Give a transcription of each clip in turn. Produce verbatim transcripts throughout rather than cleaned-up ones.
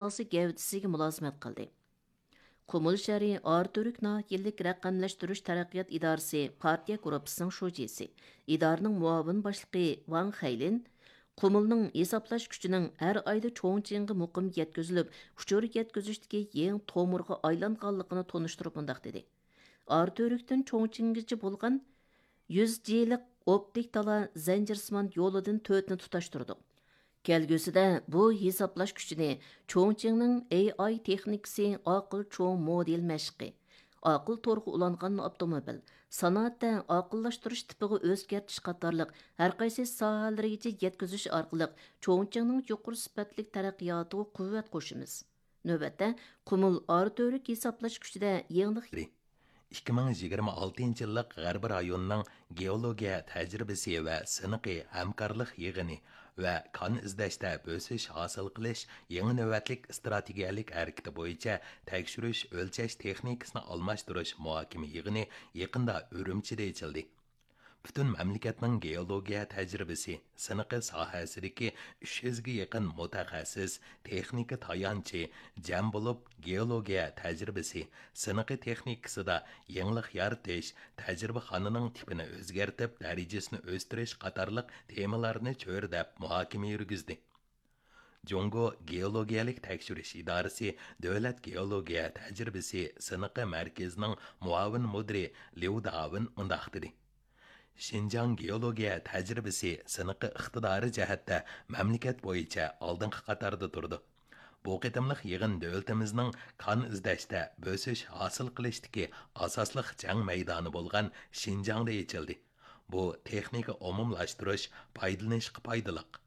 ئاساسىي گەۋدىسىگە مۇلازىمەت قىلدى. قۇمۇل شەھىرى ئاراتۈرك ناھىيەلىك رەقەملەشتۈرۈش تەرەققىيات ئىدارىسى پارتىيە گۇرۇپپىسىنىڭ شۇجىسى، ئدارىنىڭ مۇئاۋىن باشلىقى ۋاڭ خەيلىن قۇمۇلنىڭ ھېسابلاش كۈچىنىڭ ھەر ئايدا چوڭچىڭغا مۇقىم يەتكۈزۈلۈپ، ئۇچۇر يەتكۈزۈشتىكى يېڭى تومۇرغا ئايلانغانلىقىنى تونۇشتۇرۇپ مۇنداق دېدى: ئاراتۈركتىن چوڭچىڭگىچە بولغان يۈز جىلىق ئوپتىك تالا زەنجىرسىمان يولىدىن تۆتنى تۇتاشتۇردۇق. كەلگۈسىدە بۇ ھېسابلاش كۈچىنى چوڭچىڭنىڭ ئېي ئاي تېخنىكىسى، ئاقىل چوڭ مودېل مەشىقى، ئاقىل تورغا ئۇلانغان ئاپتوموبىل، سانائەتتە ئاقىللاشتۇرۇش تىپىغا ئۆزگەرتىش قاتارلىق ھەرقايسى ساھەلىرىگىچە يەتكۈزۈش ئارقىلىق چوڭچىڭنىڭ يۇقىرى سۈپەتلىك تەرەققىياتىغا قۇۋۋەت قوشىمىز. نۆۋەتتە، قۇمۇل ئاراتۈرك ھېسابلاش كۈچىدە يېڭىلىق ئىككى مىڭ يىگىرمە ئالتىنچى يىللىق غەربىي رايوننىڭ گېئولوگىيە تەجرىبىسى ۋە سىنىقى ھەمكارلىق يىغىنى ۋە كان ئىزدەشتە بۆسۈش ھاسىل قىلىش يېڭى نۆۋەتلىك ئىستراتېگىيەلىك ھەرىكىتى بويىچە تەكشۈرۈش ئۆلچەش تېخنىكىسىنى ئالماشتۇرۇش مۇھاكىمە يىغىنى يېقىندا ئۈرۈمچىدە ئېچىلدى. پۈتۈن مەملىكەتنىڭ گېئولوگىيە تەجرىبىسى، سىنىقى ساھەسىدىكى ئۈچ يۈزگە يېقىن مۇتەخەسسىس، تېخنىكا تايانچى جەم بولۇپ، گېئولوگىيە تەجرىبىسى، سىنىقى تېخنىكىسىدا يېڭىلىق يارىتىش، تەجرىبىخانىنىڭ تىپىنى ئۆزگەرتىپ، دەرىجىسىنى ئۆستۈرۈش قاتارلىق تېمىلارنى چۆرىدەپ مۇھاكىمە يۈرگۈزدى. جۇڭگو گېئولوگىيەلىك تەكشۈرۈش ئىدارىسى دۆلەت گېئولوگىيە تەجرىبىسى سىنىقى مەركىزىنىڭ مۇئاۋىن مۇدىرى ليۇ داۋېن مۇنداق دېدى: شىنجاڭ گېئولوگىيە تەجرىبىسى سىنىقى ئىقتىدارى جەھەتتە مەملىكەت بويىچە ئالدىنقى قاتاردا تۇرىدۇ. بۇ قېتىملىق يىغىن دۆلىتىمىزنىڭ كان ئىزدەشتە بۆسۈش ھاسىل قىلىشتىكى ئاساسلىق جەڭ مەيدانى بولغان شىنجاڭدا ئېچىلدى. بۇ تېخنىكا ئومۇملاشتۇرۇش، پايدىلىنىشقا پايدىلىق.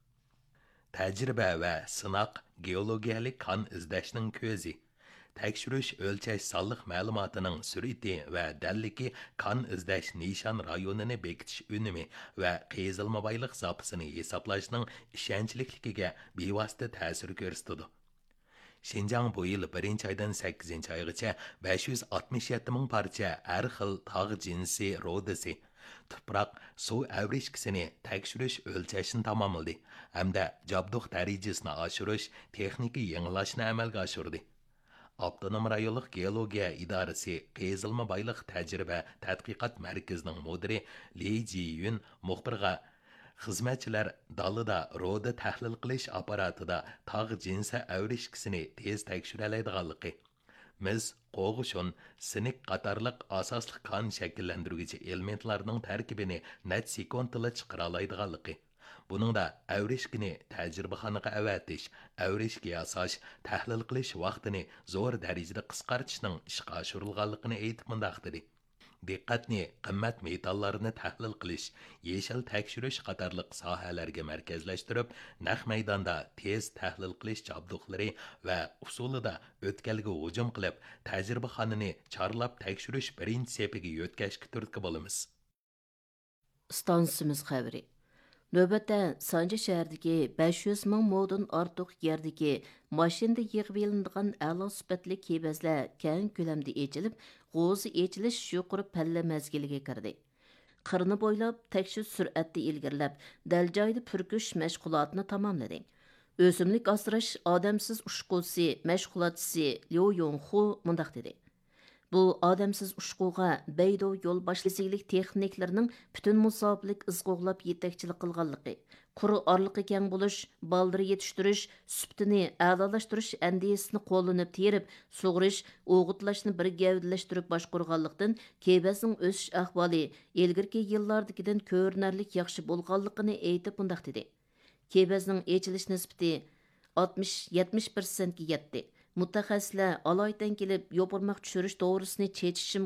تەجرىبە ۋە سىناق گېئولوگىيەلىك كان ئىزدەشنىڭ كۆزى. تەكشۈرۈش ئۆلچەش سانلىق مەلۇماتىنىڭ سۈرئىتى ۋە دەللىكى كان ئىزدەش نىشان رايونىنى بېكىتىش ئۈنۈمى ۋە قېزىلما بايلىق زاپىسىنى ھېسابلاشنىڭ ئىشەنچلىكلىكىگە بىۋاسىتە تەسىر كۆرسىتىدۇ. شىنجاڭ بۇ يىل بىرىنچى ئايدىن سەككىزىنچى ئايغىچە بەش يۈز ئاتمىش يەتتە مىڭ پارچە ھەر خىل تاغ جىنسى رۇدىسى، تۇپراق، سۇ ئەۋرىشكىسىنى تەكشۈرۈش ئۆلچەشنى تاماملىدى ھەمدە جابدۇق دەرىجىسىنى ئاشۇرۇش، تېخنىكا يېڭىلاشنى ئەمەلگە ئاشۇردى. ئاپتونوم رايونلۇق گېئولوگىيە ئىدارىسى قېزىلما بايلىق تەجرىبە تەتقىقات مەركىزىنىڭ مۇدىرى لى جىيۈن مۇخبىرغا، خىزمەتچىلەر دالىدا رۇدا تەھلىل قىلىش ئاپپاراتىدا تاغ جىنسى ئەۋرىشكىسىنى تېز تەكشۈرەلەيدىغانلىقى، مىس، قوغۇشۇن، سىنىك قاتارلىق ئاساسلىق كان شەكىللەندۈرگۈچى ئېلېمېنتلارنىڭ تەركىبىنى نەچچە سېكۇنتتىلا چىقىرالايدىغانلىقى، بۇنىڭدا ئەۋرىشكىنى تەجرىبىخانىغا ئەۋەتىش، ئەۋرىشكە ياساش، تەھلىل قىلىش ۋاقتىنى زور دەرىجىدە قىسقارتىشنىڭ ئىشقا ئاشۇرۇلغانلىقىنى ئېيتىپ مۇنداق دېدى: دىققەتنى قىممەت مېتاللارنى تەھلىل قىلىش، يېشىل تەكشۈرۈش قاتارلىق ساھەلەرگە مەركەزلەشتۈرۈپ، نەق مەيداندا تېز تەھلىل قىلىش جابدۇقلىرى ۋە ئۇسۇلىدا ئۆتكەلگە ھۇجۇم قىلىپ، تەجرىبىخانىنى چارلاپ تەكشۈرۈش بىرىنچى سېپىگە يۆتكەشكە تۈرتكە بولىمىز. ئىستانسىمىز خەۋىرى. نۆۋەتتە سانجى شەھىرىدىكى بەش يۈز مىڭ مودىن ئارتۇق يەردىكى ماشىنىدا يىغىۋېلىنىدىغان ئەلا سۈپەتلىك كېۋەزلەر كەڭ كۆلەمدە ئېچىلىپ، غوزا ئېچىلىش يۇقىرى پەللە مەزگىلىگە كىردى. قىرنى بويلاپ تەكشۈرۈش سۈرئەتتە ئىلگىرىلەپ، دەل جايىدا پۈركۈش مەشغۇلاتىنى تاماملىدى. ئۆسۈملۈك ئاسراش ئادەمسىز ئۇچقۇچىسى مەشغۇلاتچىسى ليۇ يوڭخۇ مۇنداق دېدى: بۇ ئادەمسىز ئۇچقۇغا بەيدۇ يول باشلىسىگىلىك تېخنىكلىرىنىڭ پۈتۈن مۇساپىلىك ئىز قوغلاپ يېتەكچىلىك قىلغانلىقى، قۇر ئارىلىقى كەڭ بولۇش، بالدۇر يېتىشتۈرۈش سۈپىتىنى ئەلالاشتۇرۇش ئەندىزىسىنى قوللىنىپ تېرىپ، سۇغىرىش، ئوغۇتلاشنى بىر گەۋدىلەشتۈرۈپ باشقۇرغانلىقتىن، كېۋەزنىڭ ئۆسۈش ئەھۋالى ئىلگىرىكى يىللاردىكىدىن كۆرۈنەرلىك ياخشى بولغانلىقىنى ئېيتىپ مۇنداق دېدى: كېۋەزنىڭ ئېچىلىش نىسبىتى ئاتمىش، يەتمىش پىرسەنتكە يەتتى. مۇتەخەسسىسلەر ئالايىتەن كېلىپ، يوپۇرماق چۈشۈرۈش دورىسىنى چېچىشىمۇ